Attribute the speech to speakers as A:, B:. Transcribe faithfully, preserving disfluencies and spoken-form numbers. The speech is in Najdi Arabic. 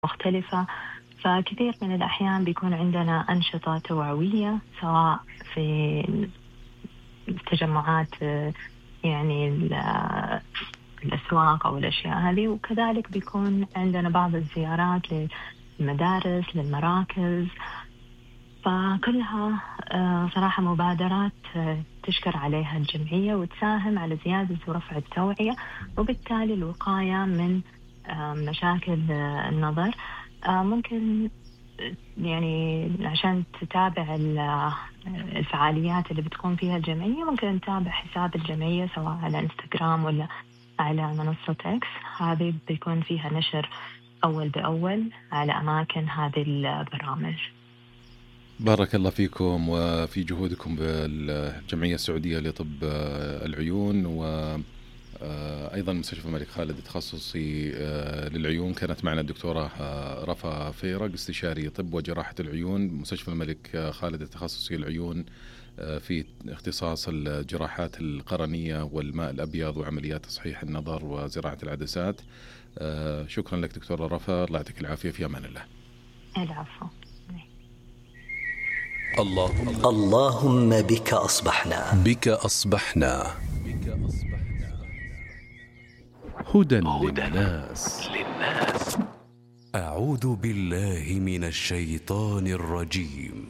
A: مختلفة. فكثير من الأحيان بيكون عندنا أنشطة توعوية سواء في التجمعات يعني الأسواق أو الأشياء هذه، وكذلك بيكون عندنا بعض الزيارات للمدارس للمراكز. فكلها صراحة مبادرات تشكر عليها الجمعية وتساهم على زيادة ورفع التوعية وبالتالي الوقاية من مشاكل النظر. ممكن يعني عشان تتابع الفعاليات اللي بتكون فيها الجمعية ممكن نتابع حساب الجمعية سواء على انستغرام ولا على منصة إكس، هذه بيكون فيها نشر أول بأول على أماكن هذه البرامج.
B: بارك الله فيكم وفي جهودكم بالجمعية السعودية لطب العيون، وأيضا مستشفى الملك خالد التخصصي للعيون. كانت معنا الدكتورة رفا فيرق استشاري طب وجراحة العيون، مستشفى الملك خالد التخصصي للعيون في اختصاص الجراحات القرنية والماء الأبيض وعمليات تصحيح النظر وزراعة العدسات. شكرا لك دكتورة رفا، الله يعطيك العافية، في أمان الله.
A: العفو.
C: اللهم اللهم بك أصبحنا
D: بك أصبحنا هدى للناس.
C: أعوذ بالله من الشيطان الرجيم.